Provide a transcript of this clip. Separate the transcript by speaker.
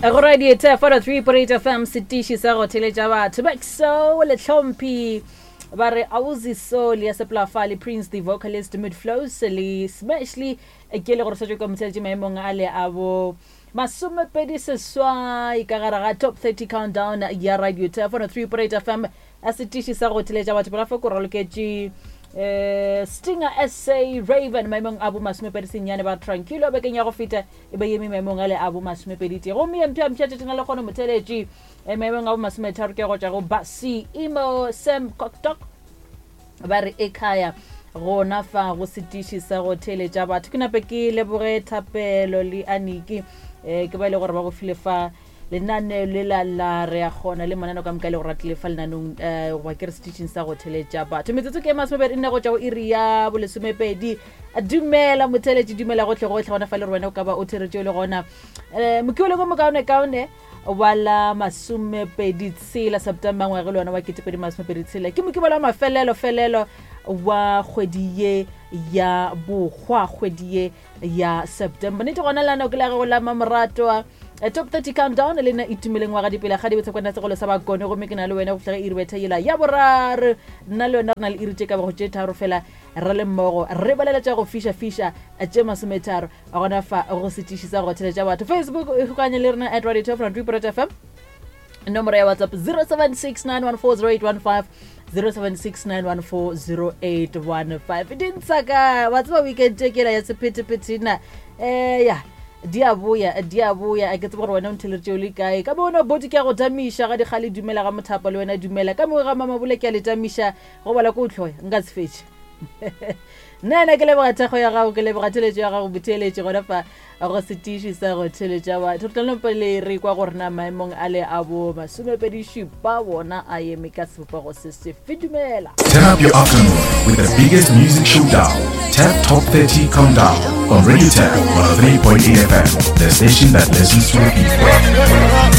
Speaker 1: Go radio tef 103.8 FM setiši sa go theletša batho baxo le tlhomphi ba re ausi soul ya seplafale prince the vocalist mid flows le smashly ke le gore setse ka motheletše maemong a le a bo masomepedi seswai ka gare ga top 30 countdown ya radio tef 103.8 FM a setiši sa go theletša batho pela fa ko raloketše um stinger sa raven maemong a bo masomepedi senyane ba tranquilo bekeng ya go feta e be eme maemong ale a bo masomepedi tee gomme ye mpša mpša tšatšing la lekgono motheletši eh, maemong a bo masometharo ke go tšwa go basi imo sam cocktok ba re ekhaya gona fa go setiši sa go theeletša batho ke nape ke leboge thapelo le aniki um ke ba e le gore ba go file fa lenaneo le la la re a kgona le mananeo ka moka e le gore a tlile fa lenanong um goba ke re setišing sa go theletša batho. Metsotso ke e masomepedi nne go tšwa go iri ya bolesomepedi. Dumela motheletši, dumela gohle gohle gona fa le gore wena o ka ba o theretše o le gona. Um mokiwele ko mokaone kaone wa la masomepedi tshela September ngwage le wona wa ketepedi masomepedi tshela ke mokibelo wa mafelelo felelo wa kgwedi ye ya bokgwa kgwedi ye ya September. Nnete gona lano ke la gago la mamoratwa eh, top 30 countdown le nna itumeleng wa ga dipela ga dibotshekwana segolo sa bakone gomme ke na le wena go fihla ge iri betha yela ya boraro nna le wena re na le iri tše ka bago tše tharo fela re le mmogo re balela tša go fiša fiša eh, tše masometharo gona fa go setiši sa go theletša batho Facebook e kgokanye le rena at radio 12 fm nomoro ya whatsapp 0769140815 0769140815 di ntsha ka wa tseba weekend e kela ya sephethephethe um ya di a boya di a boya a ke tsebe gore wena o ntheletše o le kae ka mo wena bodi ke a go tamiša ga dikgale dumela ga mothapa le wena dumela ka mo ga mamabole ke a le tamiša go bala ko o tlhoya nka se fetše nna ena ke leboga thekgo ya gago ke leboga theletšo ya gago botheeletše gona fa go setiši sa go theletša batho re tla pele re kwa gore na maemong a le a bo masomepedi šupa bona a eme ka sebopego se sefe dumela.
Speaker 2: Turn up your afternoon with the biggest music showdown, Tap Top 30 Countdown on Radio Tap 103.8 FM, the station that listens to the people.